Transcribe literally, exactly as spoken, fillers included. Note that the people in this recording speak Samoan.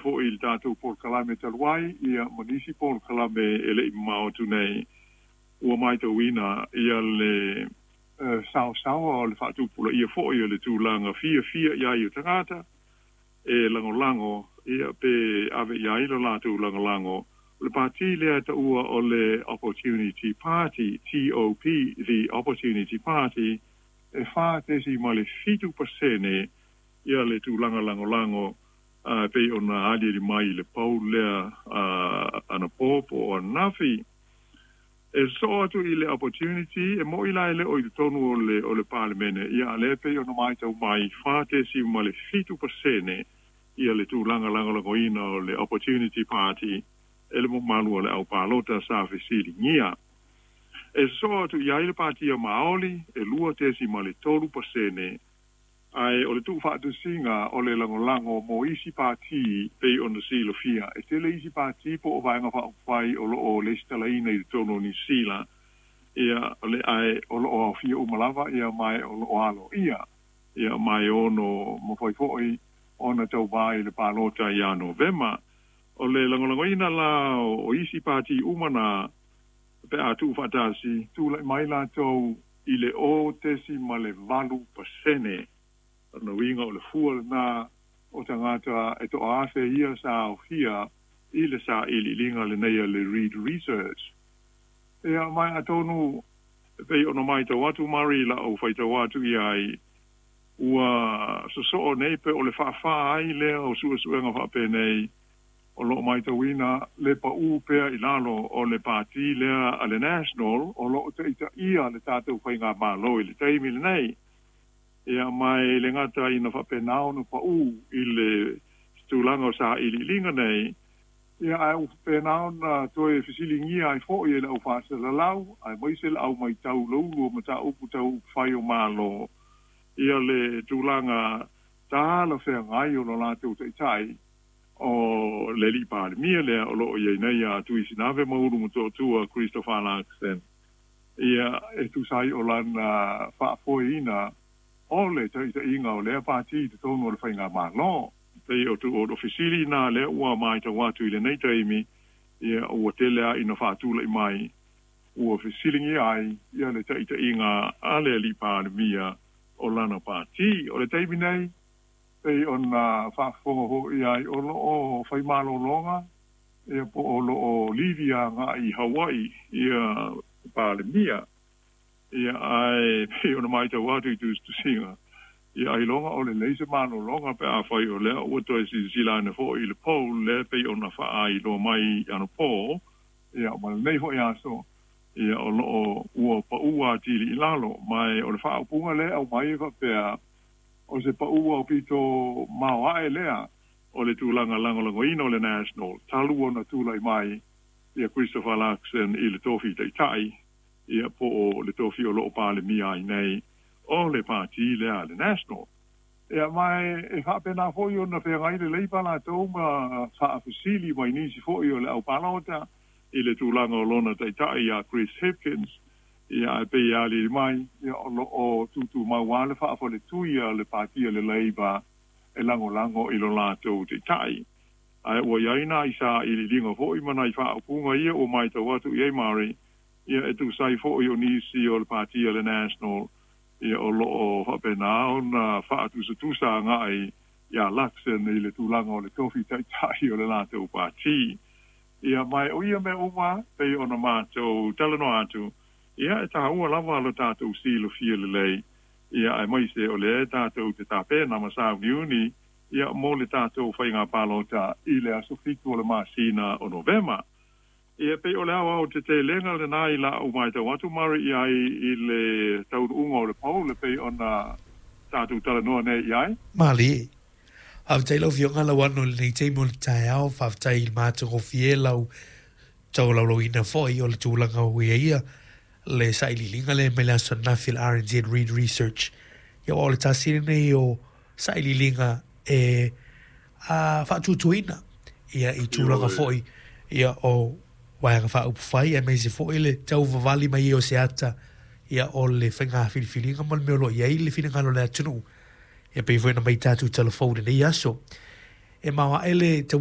fo'i i le tatou polokalame talu ai ia ma nisi polokalame e le'i mamao atu nei ua maitauina ia le saosaoa o le faatupulaia fo'i o le tulaga fiafia i ai o tagata e lagolago ia pe ave i ai lo latou lagolago o le pati lea taua o le Opportunity Party, T O P, the Opportunity Party, e fa tesi ma le fitu pasene ia le tulaga lagolago uh, pei ona aliali mai le poll lea uh, anapo po o ananafi. E sosoo atu i le Opportunity e mo'i la e le o i totonu o le, o le Palemene ia lea pei ona maitau mai fa tesi ma le fitu pasene ia le tulaga lagolagoina o le Opportunity Party e le mamalu o le aupalota sa fesiligia. E sosoo atu i ai le Patia Maoli e lua tesi ma le tolu pasene ae o le tuufaatasiga o le lagolago mo isi pati pei ona silafia e tele isi pati po o vaega faaupufai o loo lesitalaina i totonu o Nisila ia o le ae o loo aofia uma lava ia mae o loo alo ia ia mae ono mafai fo'i ona tauvā i le palota ia Novema. O le lagolagoina la o isi pati uma na pe a tuufaatasi tula'i mai latou i le o tesi ma le valu pasene na uiga o le fua lena o tagata e toaafe ia sa aofia i le sailiiliga lenei a le Reid Research. Ia mai atonu e pei ona maitau atu mari la'u faitau atu i ai ua sosoo nei pe o le faafā ai lea o suesuega faapenei o loo maitauina le paū pea i lalo o le pati lea a le National o loo taʻitaʻia le tatou faigamālō i le taimi lenei. Ia mai le gata ina faapenā ona paū i le tulaga o sailiiliga nei ia ae ua faapena ona toe fesiligia ai fo'i e le au faasalalau aemaise le au maitau loulu o mataupu tau upufai o mālō ia le tulaga talafeagai o lo latou taʻitaʻi o le alii Palemia lea o loo iai nei a Tuisinave Maulu Motootua Christopher Luxon ia e tusa ai o lana faafoeina o le taʻitaʻiga o lea pati i totonu o le faigamālō. Pei o tu o fesili na lea ua maitau atu i lenei taimi ia ua tele a ina faatulaʻi mai ua fesiligia ai ia le taʻitaʻiga a le alii Palemia o lana pati. O le taimi nei pei ona faafofoga hoʻi ai o loo faimalologa ia po o loo livi agaʻi i Hawaii ia Palemia ia ae pei ona maitau atu i tusitusiga ia ailoga o lelei se malologa pe afai o lea ua toe silasila ane foʻi i le poll lea pei ona faailoa mai anapo ia ma lenei foʻi aso ia o loo ua paʻu atili i lalo ma o le faaupuga lea aumai e faapea o se paʻu aupito maoaʻe lea o le tulaga lagolagoina o le National talu ona tulai mai ia Christopher Luxon i le tofi taʻitaʻi ia po o le tofi o loo Palemia ai nei o le pati lea le National. Ia mai e faapena foʻi ona feagai lelei pa latou ma faafesili mai nisi foʻi o le aupalota i le tulaga o lona taʻitaʻi ia Chris Hipkins ia ae pei alili mai ia o loo tutumau a le faafaletui a le patia le Labour e lagolago i lo latou taʻitaʻi ae ua iai na i sailiiliga foʻi ma nai faaupuga ia ua maitau atu i ai mari ia e tusai foʻi o nisi o le patia le National ia o loo faapenā ona faatusatusa agaʻi ia Luxon i le tulaga o le tofi taʻitaʻi o le latou pati. Ia mai o ia mea uma pei ona matou talanoa atu ia e taua lava lo tatou silafia lelei ia aemaise o lea tatou te tapena ma sauniuni ia mo le tatou faiga palota i le aso fitu o le masina o Novema. Ia pei o le ao te telega lenā i la'u maitau atu mari i ai i le taunuuga o le poll le pei ona tatou talanoa nei i ai. Mali. Faafetai lau Afioga Lauano i lenei taimi o le taeao, faafetai i le matagofie lau taulaulauina foʻi o le tulaga ua ia ia le sailiiliga lea mai le aso ananafi le R N Z Reid Research. Ia o le tasi lenei o sailiiliga e a faatuatuina ia i tulaga foʻi ia o vaega faaupufai aemaise foʻi le tauvavali mai o se ata ia o le faiga filifiliga ma le mea o loo i ai le finagalo o le atunuu ia pei foi na mai tatou talafou lenei aso e maoaʻe le tau.